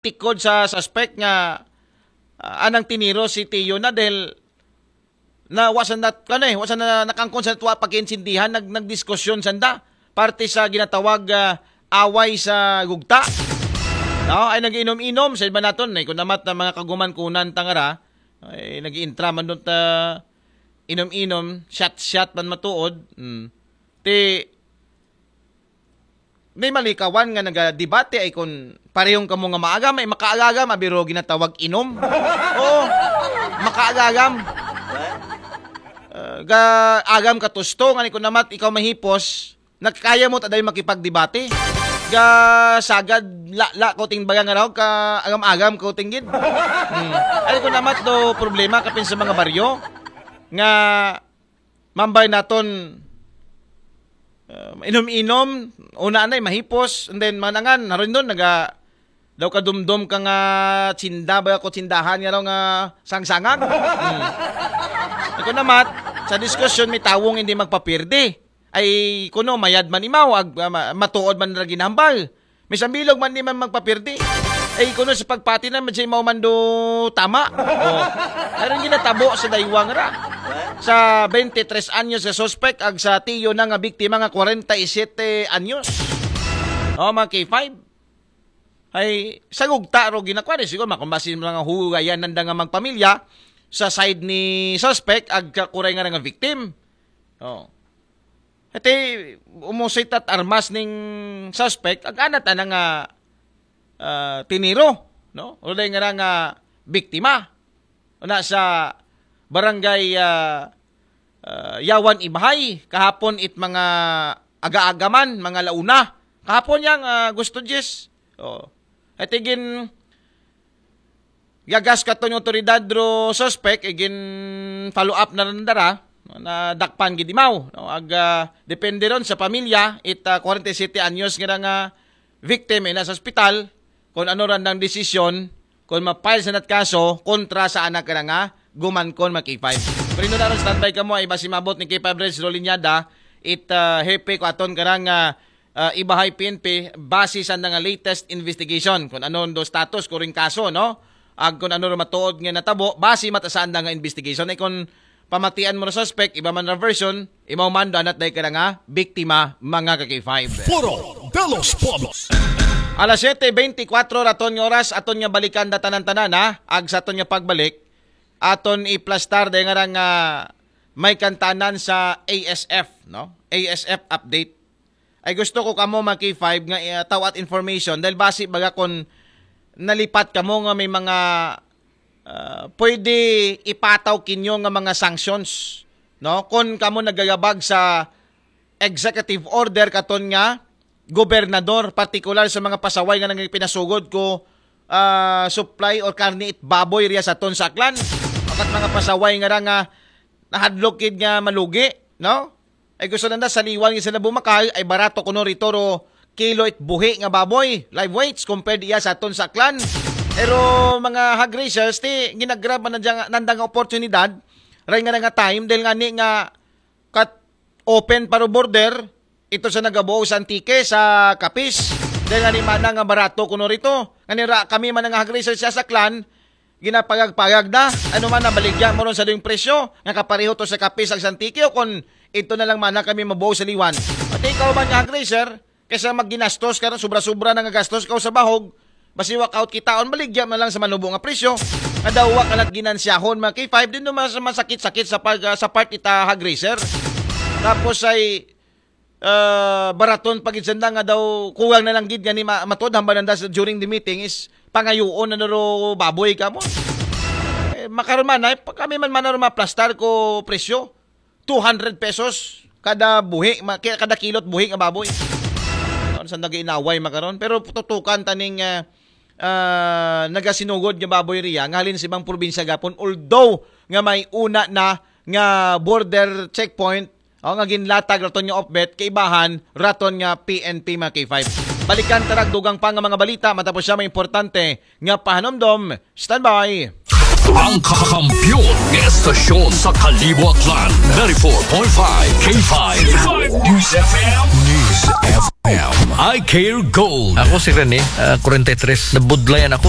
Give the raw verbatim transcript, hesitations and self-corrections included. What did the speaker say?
tikod sa suspect nga, ah, anang tiniro si Tiyo na dahil na wa sa nat-, ano eh, wa sa na, nakangkon sa tuwa pagkaintindihan, nag-, nagdiskusyon sanda. Parte sa ginatawag, ah, away sa gugta. No? Ay nag-inom-inom, sa iba naton, eh, kung namat na mga kaguman-kunan tangara, ay nag-iintra man doon ta inom-inom, shot-shot man matuod. Hmm. Ti, may malikawan nga nagadebate ay kung parehong kamo nga maagam, ay makaagagam, abiro ginatawag inom. Oo, makaagagam. Uh, ga agam katusto, nga ni kung namat ikaw mahipos, nagkaya mo taday makipagdebate. Ga sagad, la, la, ko ting baga nga raw, ka agam-agam ko tinggid. Hmm. Ay kung namat do problema kapin sa mga baryo, nga mambay naton, uh, inom-inom, una anay, mahipos, and then manangan, haron doon, naga, daw kadumdom ka nga tsinda, ba ko tsindahan nga raw nga sangsangag. Hmm. Ako namat, sa diskusyon, may tawong hindi magpapirdi. Ay, kuno, mayad man imaw, ag, ah, ma- matuod man na ginambal. May sambilog man di man magpapirdi. Ay, kuno sa pagpati na, medyo mao man do tama. Oh. Aron ginatabo sa daywang ra. Sa twenty-three anyos sa suspect, ag sa tiyo na nga biktima nga forty-seven anyos. Oh, mga K five. Ay, sa gugta ro ginakuha ni siguro, makumbasi mga hugayan nanda nga magpamilya sa side ni suspect, ag kakuray nga nga victim. Oh. Iti, umusit at armas ning suspect, ag anat ana nga, ah, tiniro, no? Uday nga nga biktima. Una sa barangay, ah, ah, Yawan Ibhay, kahapon it mga aga-agaman, mga launa. Kahapon yang, ah, Gusto Jis. Oh. Iti gin gagas katon yung otoridad ro suspect, igin follow up na rin dara, na dakpan gid imaw. No? Ag, ah, depende ron sa pamilya, it, ah, forty-seven anyos nga nga victim ay nasa ospital, kung ano ran ang desisyon, kung ma-file sa nat kaso, kontra sa anak ka nga, guman kon mag-K five. Pero yun na ron, standby ka mo, ay basi mabot ni K five Reds Rolinyada, it, ah, hepe ko aton karang, ah, ah, Ibahay P N P, base sa nga latest investigation, kung ano do status ko rin kaso, no? Ag kung ano rin matuod nga natabo, base mata sa nga investigation. Ay kung pamatian mo na suspect, iba man ra version, imaw man do anat day ka na nga, biktima, mga ka-K five. Foro de los Pueblos. Alas siyete beintikwatro raton nga oras, aton nga balikan da tanan-tanan, ha? Ag sa aton nga pagbalik, aton iplastar day nga nga may kantanan sa A S F, no? A S F update. Ay gusto ko kamo mga K five nga, eh, tawat information dahil basi baga kon nalipat kamo nga may mga, ah, pwede ipataw kinyo nga mga sanctions, no? Kon kamo nagagabag sa executive order katon nga gobernador, partikular sa mga pasaway nga nang pinasugod ko, ah, supply or karne it baboy riya sa ton sa Aklan. Akat mga pasaway nga ra nga nahadlok kid nga malugi, no? Ay gusto nanda sa liwan nga sila bumakal, ay barato kuno rito ro kilo it buhi nga baboy, live weights, compared iya sa aton sa Aklan. Pero mga hog raisers, ti ginagrab man nanda, nanda nga oportunidad, ray nga nga time, dahil nga ni nga kat open pa ro border, ito sa nagabuo sa Antique, sa Capiz. Dahil nga ni mana nga barato kuno rito. Nga ni ra, kami man nga hog raisers sa Aklan, ginapagag-pagag na. Ano man, nabaligya mo ron sa ding presyo, nga kapareho to sa Capiz ag Santique, o kung ito na lang mana kami mabuo sa liwan. Pati ikaw man nga hog raiser, kaysa magginastos ka ron, sobra-sobra na nga gastos ka sa bahog, basi walk out kitaon, baligya na lang sa manubo nga presyo. Nga daw wa ka nat ginansyahon, mga K five, din naman sa masakit-sakit sa pag, ah, sa part ita hog raiser. Tapos ay, ah, baraton pagid sanda nga daw kuwang na lang gid nga ni ma-, matod hamba nanda sa during the meeting is pangayuon na naro baboy ka mo. Eh, makaron man ay pa-, kami man man naro maplastar ko presyo two hundred pesos kada buhi, ma-, ki-, kada kilot buhi nga baboy. Ano sa nag-inaway makaron, pero tutukan taning, ah, ah, nagasinugod nga baboy riya nga halin sa ibang probinsya gapon, although nga may una na nga border checkpoint, o nga ginlatag raton nga opbet, kaibahan raton nga P N P, mga K five. Balikan tarag dugang pa nga mga balita matapos siya may importante nga pahanumdom. Standby. Ang kakampiyon nga estasyon sa Kalibo, Aklan, ninety-four point five K five News F M. News F M. I Care Gold. Ako si Rene, ah, forty-three. Nabudlayan ako